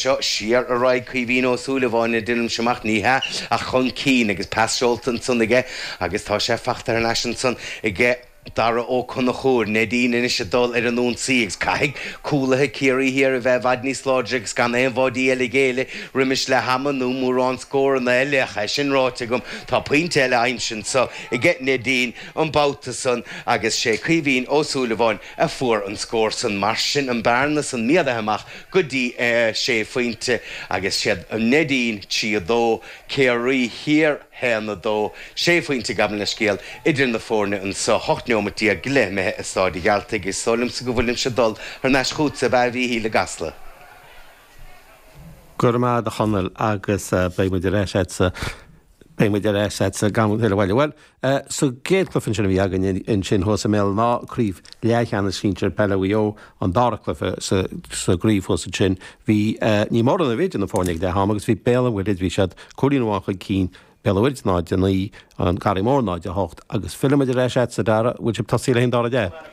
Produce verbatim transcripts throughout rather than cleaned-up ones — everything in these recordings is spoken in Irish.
seo siar ar aghaidh Caoimhín Ó Súilleabháin a dhéanaim amach ní hea ach chun cinn agus pas seolta ansan aige agus tá sé fachta ar ais ansan aige Dara Ó Conchúir Neidín anois ag dul ar an ionsaí agus caithfidh cúlaithe Ciarraí Thiar a bheith i bhfad níos láidre agus gan aon bháidí eile géilleadh roimis le hama nó mórán scóranna eile ach é sin ráite agam tá pointe eile aimsithe anseo aige Neidín an babhta san agus sé Caoimhín Ó Súilleabháin a fuair an scór san mar sin an bearna san méadaithe amach go dtí sé phointe agus siad Neidín trí a dó Ciarraí Thiar haon a dó sé phointe gabh mo leithscéal idir na foirne anseo ocht nóiméad déag go leith imithe i Staid an Ghearaltaigh is dóigh liomsa go bhfuilimse ag dul thar n-ais chugatsa a Mhíchíl i gCasla. Go raibh maith agat a Chonaill agus beidh muid ar ais agatsa beidh muid ar ais agatsa gan thuile bhaile. Well, sa gcéad chluiche sin a bhí againn ansin thuas i mBéal an Átha craobh leathcheannais sinsir peile Mhaigh Eo an dara cluiche sa gcraobh thuas ansin bhí ní mórán a bhí idir na foirne ag leath ama agus bhí Béal an Mhuirthead bhí siad cúilín amháin chun cinn Béal an Mhuirthead náid a naoi an Garraí Mór náid a hocht agus fillfimid ar ais agatsa a Dhara bhfuil sibh tosaithe le an dara leath.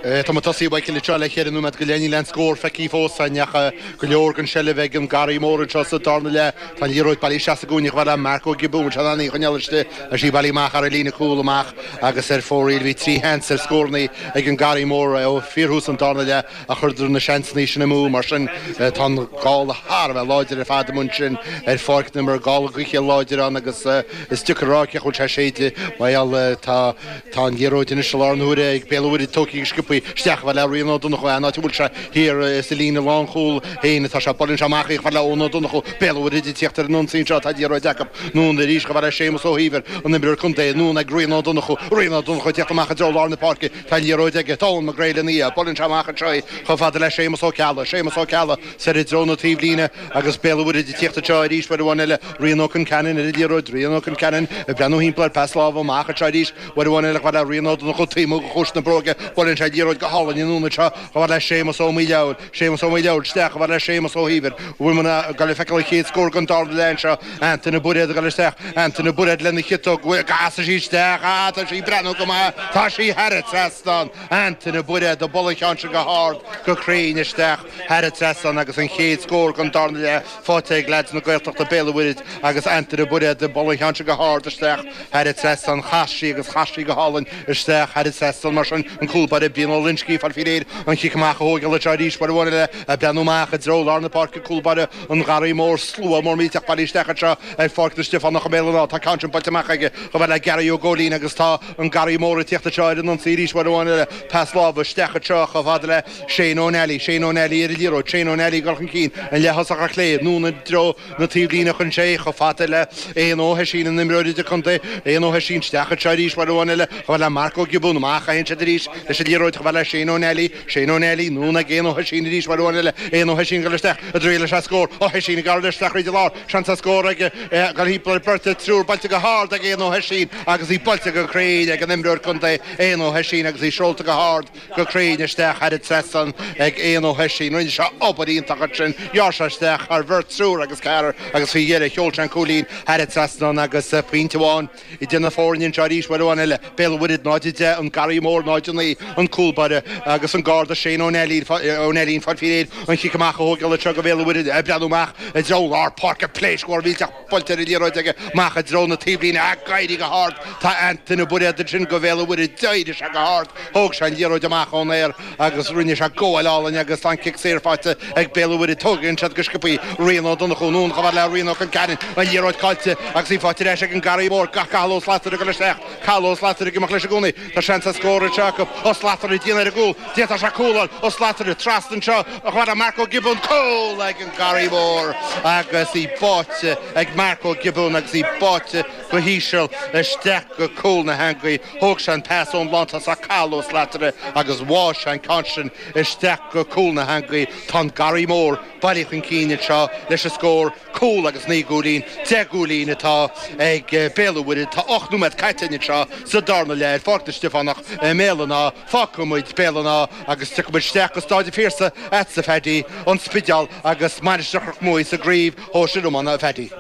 Tá muid tosaithe Michael anseo le ceithre nóiméad go leith níl aon scór feicthe fós ach go leor den seilbh ag an Garraí Mór anseo sa darna leath. Tá an liathróid bailithe isteach sa gcúinne chomh fada le Marco Gibbon se an choinneáil istigh is í bailithe amach ar an líne cúl amach agus ar fóraoil bhí trí sheans ar scóranna ag an Garraí Mór ó fíorthús an darna leath a chuireadar na seansanna sin amú mar sin tá an gála thar a bheith láidir ar fad amuigh ansin ar pháirc na mar gála gaoithe láidir ann agus is deacair a rá cén chaoi a bhfuil sé ag séideadh mar gheall tá tá an liathróid anois i lár na huaire ag Béal an Mhuirthead tógtha go sciobtha isteach chomh fada le Rian Ó Donnchú an áit a bhfuil sé thiar sa líne lánchúil féin atá sé buaileann sé amach í chomh fada le Eoin Ó Donnchú Béal an Mhuirthead ag tíocht ar an ionsaí anseo tá liathróid acu anonn arís chomh fada le Séamus Ó hÍomhair an imreoir contae anonn ag Rian Ó Donnchú Rian Ó Donnchú ag tíocht amach i dtreo lár na páirce tá liathróid aige tá Eoin Mac Gréil ina dhiaidh buaileann sé amach anseo í chomh fada le Séamus Ó Ceallaigh Séamus Ó Ceallaigh soir i dtreo na taobhlíne agus Béal an Mhuirthead ag tíocht anseo arís uair amháin eile Rian Ó Conceanainn ar an liathróid Rian Ó Conceanainn ag breathnú thimpeall air pas láimhe amach anseo arís uair amháin eile chomh fada le Rian Ó Donnchú taobh amuigh de chluais na bróige buaileann sé liathróid go hálainn anonn anseo chomh fada le Séamus Ó Maoileabhail Séamus Ó Maoileabhail isteach chomh fada le Séamus Ó hÍomhair bhfuil muid ag dul a feiceáil an chéad scór den dara leath anseo Antaine Bairéad ag dul isteach Antaine Bairéad lena chiotóg casadh sí isteach á tá sí breathnú go maith tá sí thar an trasnán Antaine Bairéad ag bualadh an cheann sin go hard go cruinn isteach thar an trasnán agus an chéad scór den darna leath faighte ag leaids na Gaeltachta Béal an Mhuirthead agus Antaine Bairéad ag bualadh an cheann sin go hard isteach thar an trasnán chas sí agus chas sí go hálainn isteach thar an trasnán mar sin an cúl báire Brian Ó Loinsigh fáil faoi réir an chic amach a thógáil anseo arís uair amháin eile ag breathnú amach i dtreo lár na páirce cúl báire an Gharraí Mór slua mór millteach bailithe isteach anseo ar Pháirc na Stiofánach i mBéal an Átha tá ceann sin buailte amach aige chomh fada le Gary Ó Góilín agus tá an Garraí Mór ag tíocht anseo ar an ionsaí arís uair amháin eile pas láimhe isteach anseo chomh fada le Shane Ó Neilí Shane Ó Neilí ar an liathróid Shane Ó Neilí ag dul chun cinn an leath-thosach ar chlé anonn i dtreo na taobhlíne chun sé chomh fada le Éanna Ó hOisín an imreoir idirchontae Éanna Ó hOisín isteach anseo arís uair amháin eile chomh fada le Marc Ó Giobún amach a théann siad arís leis an liathróid chomh fada le Shane Ó Neilí Shane Ó Neilí anonn ag Éanna Ó hOisín arís uair amháin eile Éanna Ó hOisín ag dul isteach i dtreo leis an scór Ó hOisín ag gabháil isteach thríd an lár seans ar scór aige ag dul thimpeall ar bheirt triúr buailte go hard ag Éanna Ó hOisín agus í buailte go cruinn ag an imreoir contae Éanna Ó hOisín agus í seolta go hard go cruinn isteach thar an trasnán ag Éanna Ó hOisín rinne sé obair iontach ansin ghearr sé isteach thar bheirt triúr agus ceathrar agus faoi dheireadh sheol sé an cúilín thar an trasnán agus pointe amháin idir na foirne anseo arís uair amháin eile Béal an Mhuirthead náid a deich an Garraí Mór náid a naoi an cúl báire agus an garda Shane Ó Neilín Ó Neilín fáil faoi réir an chic amach a thógáil anseo go Bhéal an Mhuirthead ag breathnú amach i dtreo lár páirce pléasc mhór mhillteach buailte ar an liathróid aige amach i dtreo na taobhlíne ag éirí go hard tá Antaine Bairéad ansin go Bhéal an Mhuirthead d'éirigh sé go hard thóg sé an liathróid amach ón aer agus rinne sé gabháil álainn agus tá an cic saor faighte ag Béal an Mhuirthead tógann siad go sciobtha Rian Ó Donnchú anonn chomh fada le Rian Ó Conceanainn an liathróid caillte agus í faighte ar ais ag an Garraí Mór gach Cathal Ó Slatara ag dul isteach Cathal Ó Slatara ag imeacht leis i gcónaí tá seans ar scór anseo acu Ó Slatara dian ar an gcúl d'fhéadfadh sé cúl Ó Slatara trasna anseo chomh fada le Marco Gibbon cúl ag an Garraí Mór agus í báite ag Marco Gibbon agus í báite go híseal isteach go cúl na heangaí thóg sé an pas ón lántosach Cathal Ó Slatara agus bháigh sé an ceann sin isteach go cúl na heangaí tá an Garraí Mór bailithe chun cinn anseo leis an scór cúl agus naoi gcúilín deich gcúilín atá ag Béal an Mhuirthead tá ocht nóiméad caite anseo sa darna leath ar Pháirc na Stiofánach i mBéal an Átha fágfaidh muid Béal an Átha agus tiocfaidh muid isteach go Staid an Phiarsaigh agatsa a Phaddy an Spidéal agus Mainistir Chnoc Muaidhe sa gcraobh shóisir iomána a Phaddy.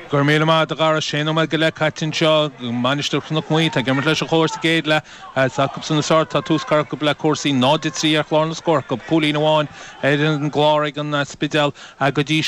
Go raibh míle maith agat a Dhara sé nóiméad go leith caite anseo Mainistir Chnoc Muaidhe tá ag imirt leis an chóir sa gcéad leath acu san is tá tús curtha acu le cúrsaí náid a trí ar chlár na scór acu cúilín amháin ar an gclár ag an Spidéal go dtí